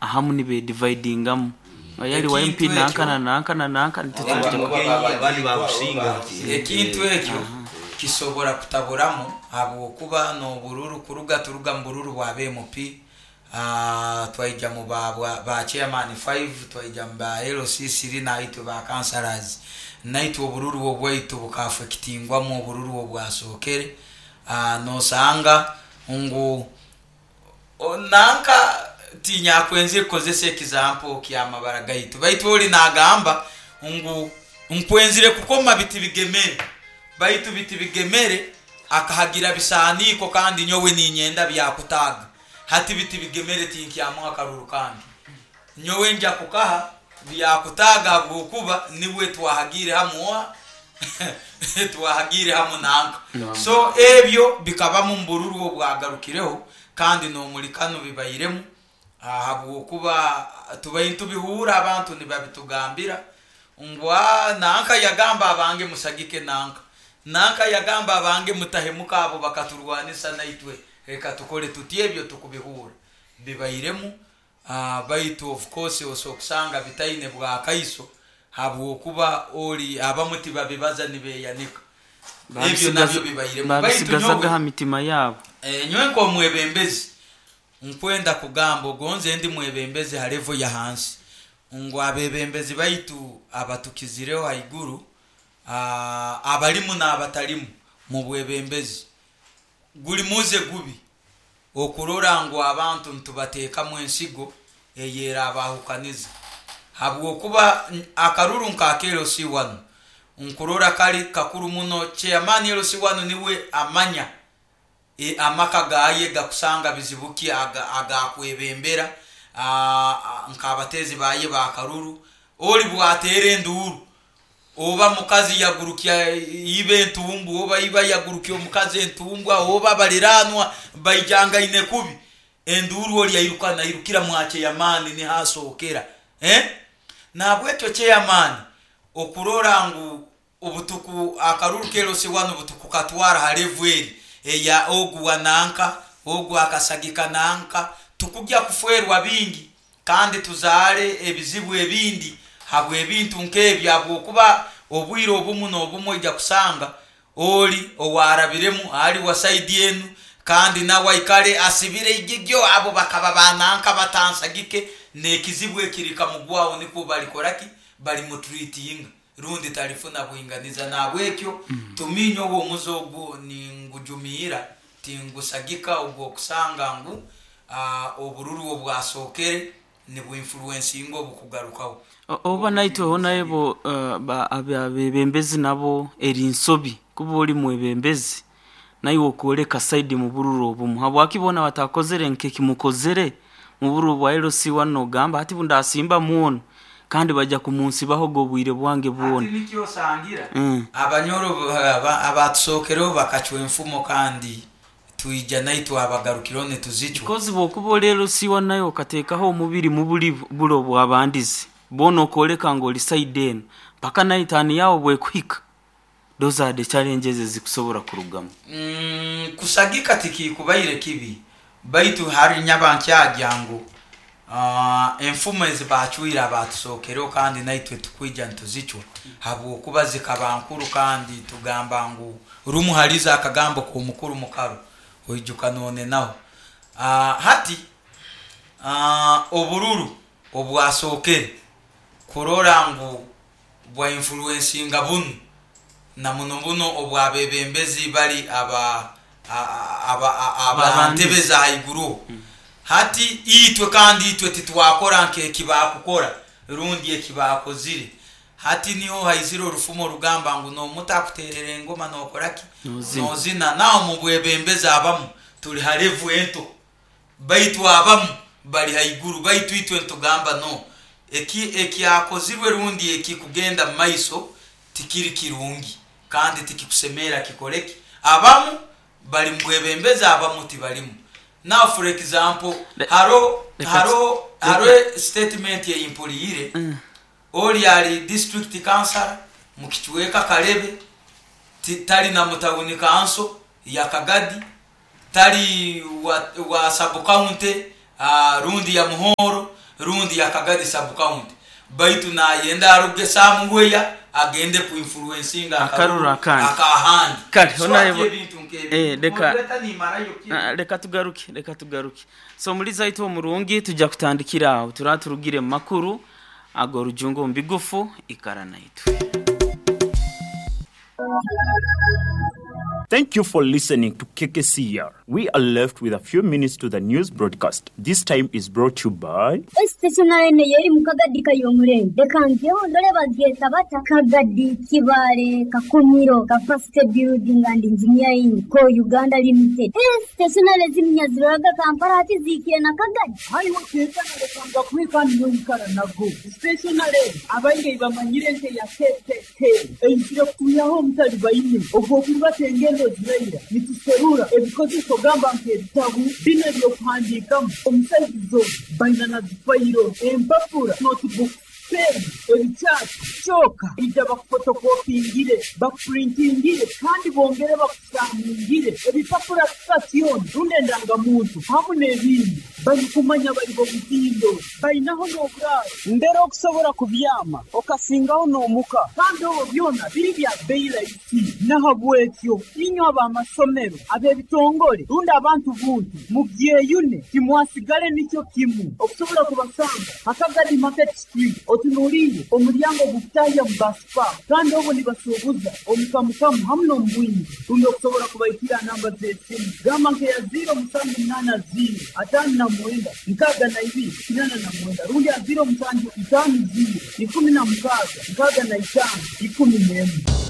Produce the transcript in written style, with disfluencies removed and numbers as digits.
Ahamu nibedividingamu oyo ali wa MP Ekintu ekyo nanka na nanka na nanka nitwe Abandi twija ba Mugenyi abandi Babugingo abo babusinga. Ekintu ekyo kisobora kutaburamu habwokuba n'obururu kuruga turuga mu bururu bwa MP, twaija mu ba ba chairman 5, twaija mu ba LC3, naitwe ba councillors, naitwe obururu obwaitu bukaafekitingwamu obururu obwasookere. Nosanga ngu nanka tinyakwenzire kukozesa example kyamabara gaitu, baitu oli nagamba ngu nkwenzire kukoma biti bigemere, baitu biti bigemere akahagira bisaaniiko kandi nyowe ninyenda byakutaaga. Hati biti bigemere tinkyamuha karuru kange, nyowe nja kukaha byakutaaga habwokuba niwe twahagiire hamu oha twahagiire hamu nanka. So ebyo bikabamu mu bururu obwagarukireho kandi n'omuri kanu bibairemu, habwokuba tubaire nitubihuura abantu nibabitugambira ngu nanka yagamba abange musagike nanka, nanka yagamba abange mutahemuka abo bakaturwanisa naitwe reka tukole tuti. Ebyo tukubihuura bibairemu, baitu of course osobola kusanga bitaine bwakaiso habwokuba ori abamu tibabibaza nibeyanika. Ebyo nabyo bibairemu, baitu Babisigazaga nyowe ha mitima yabo. Nyowe nk'omwebembezi nkwenda kugamba, ogonze ndi mwebembezi ha level ya hansi, ngu abebembezi baitu abatukizireho haiguru, abalimu n'abatalimu mu bwebembezi, guli muze gubi okurora ngu abantu nitubateekamu ensigo eyerabahukaniza, habwokuba akaruru nka LC1 nkurora kali kakuru muno. Chairman LC1 niwe amanya amaka gaye gakusanga bizibu ki agakwebembera, nk'abateezi baye bakaruru. Oli bwateera enduuru, oba mukazi yagurukya iba entumbu, oba iba yagurukya omukazi entumbwa, oba baliranwa baijangaine kubi, enduuru oli airuka nairukira mwa chairman, niho asookera, eh? Nahabwekyo chairman okurora ngu obutuku akaruru ka LC1 butukukatwara ha level eri eya ogu wa nanka, ogu akasagika nanka, tukugya kufwerwa bingi kandi tuzaale ebizibu ebindi habw'ebintu nk'ebyo, habwokuba obwire obumu n'obumu oija kusanga oli owarabiremu ali wa saidi enu kandi nawe aikale asibire igigyo, abo bakaba bananka batansagike, n'ekizibu ekirikamugwaho nikwo balikoraki, balimutreatinga rundi talifuna bwinganiza. Nahabwekyo tuminye obu omuze ogu ningujumiira, tingusagika ogw'okusanga ngu obururu obwasookere nibuinfluencinga obukugarukaho. Oba naitweho nabo abebembezi nabo eri nsobi kuba oli mwebembezi naiwe okwoleka side mu bururu obumu. Habwaki boona batakozere nkekimukozere mu bururu bwa LC1, nogamba hati bundasimbamu onu kandi bajja kumunsibaho obwire bwange Hati bwona. nikyo osangira abanyoro abatusookereho bakacwa enfumo kandi twija naitwe abagarukireho nituzicwa. Because bwokuba oli LC1 nawe okateekaho omubiri mu buli buro bwabandize, boona okwoleka ngu oli side enu mpaka nawe taani yawe bwekuhika, those are the challenges ezikusobora kurugamu. Kusagika tikikubaire kibi, baitu hari nyaba nkyagya ngu enfumo ezi bacwire abatusookereho kandi naitwe tukwija nituzicwa habwokuba zikaba nkuru, kandi tugamba ngu rumu halizo akagambo k'omukuru mukaro oijuka nonenaho. Hati obururu obwasookere kurora ngu bwa influencinga bunu na muno muno obwabebembezi bali aba ntebe za haiguruho. Hati itwe kandi itwe titwakora nk'ekibakukora rundi ekibakozire. Hati niho haizire orufumo rugamba ngu n'omuto akuterera engoma nokoraki, nozina. Naho mu bwebembezi abamu tuli ha level ento, baitu abamu bali haiguru, baitu itwe nitugamba no eki ekyakozirwe rundi ekikugenda mu maiso tikiri kirungi kandi tikikusemerra kikoreki. Abamu bali mu bwebembezi, abamu tibalimu. Now for example, haroho haroho statement eyimpuliire, oli ali district councillor mu kicweka Kalebe, tali na mu town council ya Kagadi, tali wa sub county rundi ya Muhoro. Rundi ya Kagadi sub county, baitu nayenda aruge somewhere agende kuinfluencinga Akaruru akandi. Akahandi. Kale, So honorable- ati ebintu nk'ebyo. Moderator, nimarayo ki? Ah, reka tugaruke, reka tugaruke. So muri zaitu omurungi tujja kutandikira aho turaba turugire mu makuru ago rujungu omu bigufu. Ikara naitwe. Thank you for listening to KKCR. We are left with a few minutes to the news broadcast. This time is brought to you by Stationary yeri mu Kagadi kayomurenge, reka ngeho ndore babyeta bata Kagadi Kibare Kakumiro Capacity Building and Engineering Co Uganda Limited. Stationary z'iminyaziraga Kampala hati zikire na Kagadi. Hariho tekanalekanga kwika niyoikara nago stationary abaingi bamanyire nke ya KKK eizire kutuyaho omutali baine ogwokurubata engendo ziraira nituserura ebikozeso gamba nk'ebitabu bino ebyokuhandiikamu omusaizizo baina na zifayiro, empapura, notebook, pen, ebikyati kyoka ija bakufotokopingire, bakupurintingire kandi bongere bakusamingire ebipapura sitasioni rundi endangamuntu hamu n'ebindi. Barikumanya bari bomutindo bainaho n'oburaaro ndera okusobora kubyama okasingaho n'omuka kandi obwo byona biri bya bei rahisi. Nahabwekyo inywe ab'amasomero, ab'ebitongore rundi abantu buntu mubyeyune timwasigale nikyo kimu. Okusobora kubasanga Hakagadi Market Street, otunuliire omulyango gukutahya mu basipa kandi obwo nibasuubuza omukamukamu hamu n'omubwingi. Rundi okusobora kubaikira namba z'esimu gamba nkeya 0780 59 62 89 rundi ya 0750 16 65 11.